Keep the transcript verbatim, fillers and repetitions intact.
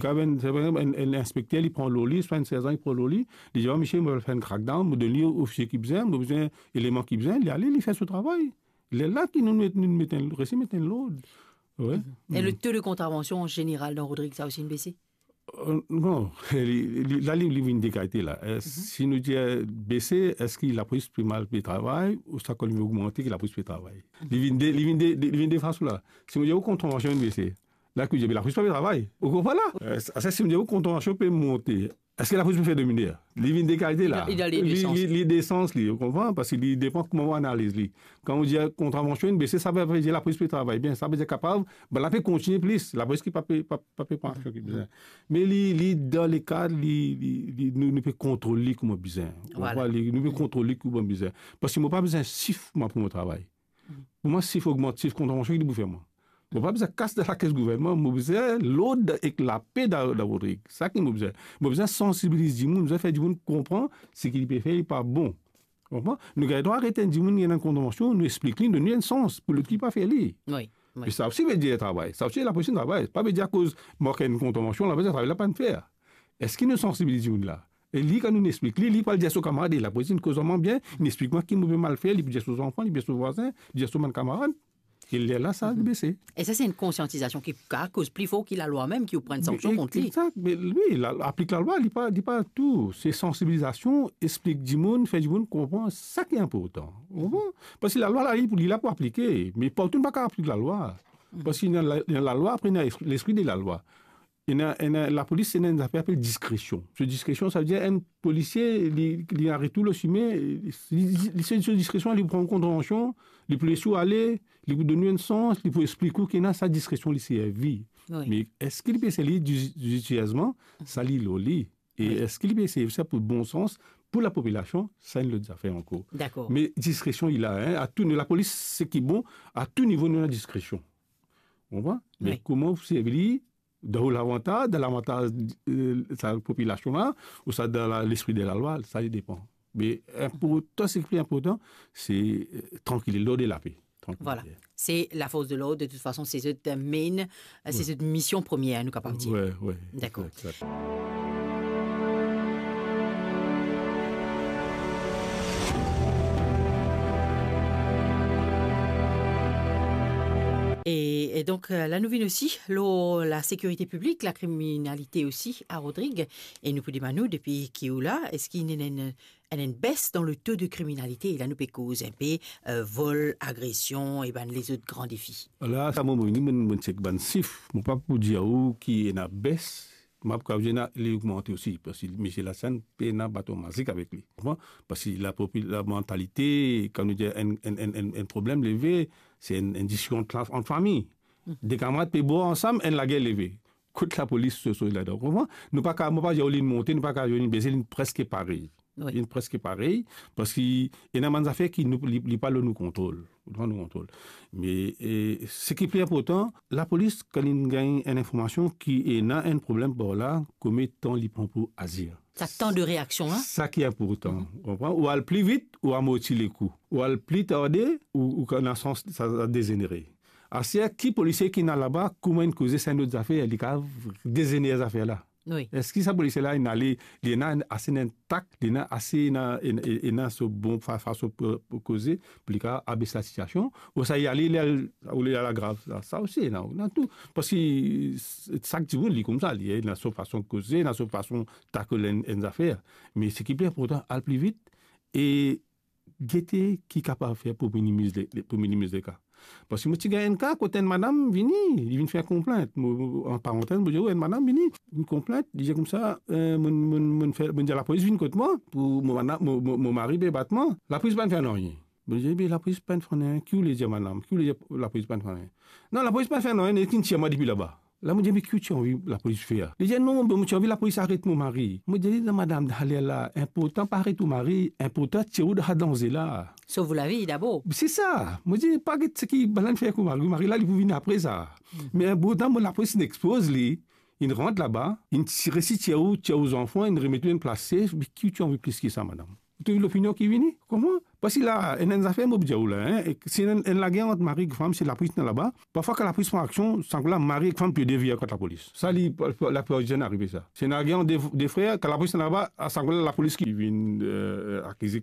Kan enn, par exanp, enn, enn inspekter, li pran lor li, swa enn serzan, li pran lor li, li dir, "Ah, misie, mo fer enn crackdown, mo donn li ofisie ki bizin, mo bizin eleman ki bizin," li ale, li fer so travay. Lerla ki nou met, nou met enn, resi met enn lord. Wi. E le taux de contravention en général dans Rodrigues, sa osi inn bese? Euh, non, li, li, la, li, li vinn dekalite la. Euh, si nou dir, euh, bese, eski lapolis pe mal pe travay, ouswa kan li vinn ogmante ki lapolis pe travay? Li vinn de, li vinn de, de, li vinn de fason la. Si nou dir ou kontravansion inn bese, la ki dir, me lapolis pa pe travay. Ou konpran la? Euh, sa, si nou dir ou kontravansion pe monte, eski lapolis pe fer de miner? Li vinn dekalite la. Li, li, li, li, li de sans li, ou konpran? Parski li depan kouma ou analiz li. Kan ou dir kontravansion inn bese, sa ve, ve dir lapolis pe travay bien. Sa ve dir kapav, bann la pe kontigne plis. Lapolis ki pa pe, pa, pa pe pran aksion ki bizin. Me li, li dan le kad, li, li, li, nou, nou pe kontrol li kouma bizin. Ou konpran? Li, nou pe kontrol li kouma bizin. Parski mo pa bizin sif, mwa, pou mo travay. Pou mwa, sif ogmant, sif kontravansion, ki li pou fer mwa? Mo pa bizin kas dan lakes gouvernman, mo bizin lord ek lape dan, dan Rodrig. Sa ki mo bizin. Mo bizin sansibiliz dimoun, mo bizin fer dimoun konpran seki li pe fer, li pa bon. Konpran? Nou gagn drwa aret enn dimoun, li ena enn kontravansion, nou explik li, donn li enn sans pou lot ki pa fer li. Wi, wi. E sa osi ve dir travay. Sa osi lapolis travay. Pa ve dir akoz mark enn kontravansion, lapolis travay la pa fer. Eski nou sansibiliz dimoun la? E li, kan nou explik li, li pou al dir so kamarad, e lapolis inn koz mwa bien, inn explik mwa ki mo pe mal fer, li pou dir so zanfan, li pou dir so vwazin, li dir so bann kamarad. E lerla sa bese. E sa, se enn konsiantizasion ki kapav koz pli for ki lalwa mem, ki ou pran enn sanksion kont li. Exakt, me wi, la, aplik lalwa, li pa, li pa tou. Se sansibilizasion, explik dimoun, fer dimoun konpran sa ki inportan. Ou konpran? Parski lalwa la, li, li la pou aplike. Me partou nou pa kapav aplik lalwa. Parski ena la, ena lalwa, apre ena lespri de lalwa. Ena, ena, lapolis, ena enn zafer apel diskresion. So diskresion, sa ve dir enn polisie, li, li aret ou lor simin, li, li, li, so, so diskresion, li pran kontravansion, li pou les ou ale, li pou donn ou enn sans, li pou explik ou ki ena sa diskresion li servi. Wi. Me eski li pe servi di-, dizitezman? Sa li lor li. E eski li pe servi sa pou bon sans, pou lapopilasion, sa enn lot zafer ankor. Dakor. Me diskresion, li la, hein, a tou nivo, lapolis, seki bon, a tou nivo, nou ena diskresion. Ou konpran? Me kouma ou servi li, dan ou lavantaz, dan lavantaz, euh, sa popilasion la, ouswa dan la, lespri de lalwa, sa li depan. Me inportan, seki pli inportan, se, euh, trankilite, lord e lape. Trankilite. Voilà. Se lafors de lord, de tout fason, se zot main, se zot mision premie, nou kapav dir. Wi, wi. Dakor. Egzakt. E, e donk, euh, la nou vinn osi lor lasekirite piblik, lakriminalite osi a Rodrig, e nou pou demann ou, depi ki ou la, eski ena enn, enn, enn bes dan le taux de kriminalite? La nou pe koz inpe, euh, vol, agresion e bann lezot gran defi. La, sa mo, mo vini, mo, mo chek bann sif. Mo pa pou dir ou ki ena bes, mo pa pou dir ena, li ogmante osi, parski misie Lasann pena baton mazik avek li. Konpran? Parski lapopi-, lamantalite, kan nou dir enn, enn, enn, enn, enn problem leve, se enn, enn diskision ant, ant fami. De kamarad pe bwar ansam, enn lager leve. Kot lapolis so, so ladan, konpran? Nou pa ka, mo pa dir ou li monte, nou pa ka dir ou li bese, li preske parey. Wi. Li preske parey, parski ena bann zafer ki nou, li, li pa lor nou kontrol. Li pa lor nou kontrol. Me, e, seki pli inportan, lapolis, kan li gagn enn informasion ki ena enn problem par la, konbien tan li pran pou azir? Sa tan de reaksion, hein? Sa ki inportan, konpran? Ou al pli vit, ou amorti lekou. Ou al pli tarde, ou, ou ena sans sa, sa dezenere. Aster, ki polisie ki ena laba, kouma inn koze, sa enn lot zafer, li kapav dezenere zafer la. Wi. Eski sa polisie la, inn ale, li ena ase enn tak, li ena ase, ena, ena, ena so bon fa-, fason pou, pou koze, pou li kapav abes lasitiasion, ouswa li ale, li al, ou li al agrav sa, sa osi, ena, ena tou. Parski s-, sak dimoun, li koumsa, li ena so fason koze, ena so fason tackle enn, enn zafer. Me seki pli inportan, al pli vit, e gete ki kapav fer pou minimiz le, le, pou minimiz leka. Parski mo ti gagn enn ka kot enn madam vini, li vinn fer konplint. Mo, mo, an parantez, mo dir, enn madam vini, vinn konplint, li dir koumsa, eh, mo, mo, mo fer, mo dir lapolis vinn kot mwa, pou mo madam, mo, mo, mo mari pe bat mwa. Lapolis pa'nn fer nanye. Mo dir, "Be lapolis pa'nn fer nanye, ki ou le dir madam? Ki ou le dir lapolis pa'nn fer nanye?" "Non, lapolis pa'nn fer nanye, li tir mwa depi laba." La mo dir, "Me ki ou ti anvi lapolis fer?" Li dir, "Non, be mo ti anvi lapolis aret mo mari." Mo dir li, "Non, madam, dan ler la, inportan pa aret ou mari, inportan tir ou dan sa danze la." Sov ou lavi dabor. Se sa. Mo dir, "Pa get seki bann la fer ek ou mari, ou mari la, li pou vini apre sa." Me inportan, mo lapolis inn expoz li, inn rant laba, inn ti-, resi tir ou, tir ou zanfan, inn remet ou enn plas safe, me ki ou ti anvi plis ki sa, madam? Ou trouv lopinion ki vini? Kouma? Parski la, ena enn zafer mo pou dir ou la, hein, e si ena enn, enn lager ant mari ek fam, si lapolis ena laba, parfwa kan lapolis pran aksion, sa kout-la mari ek fam pe devir kont lapolis. Sa li, laplipar di tan arive sa. Si ena lager ant de, de frer, kan lapolis ena laba, sa kout-la lapolis ki vinn, euh, akize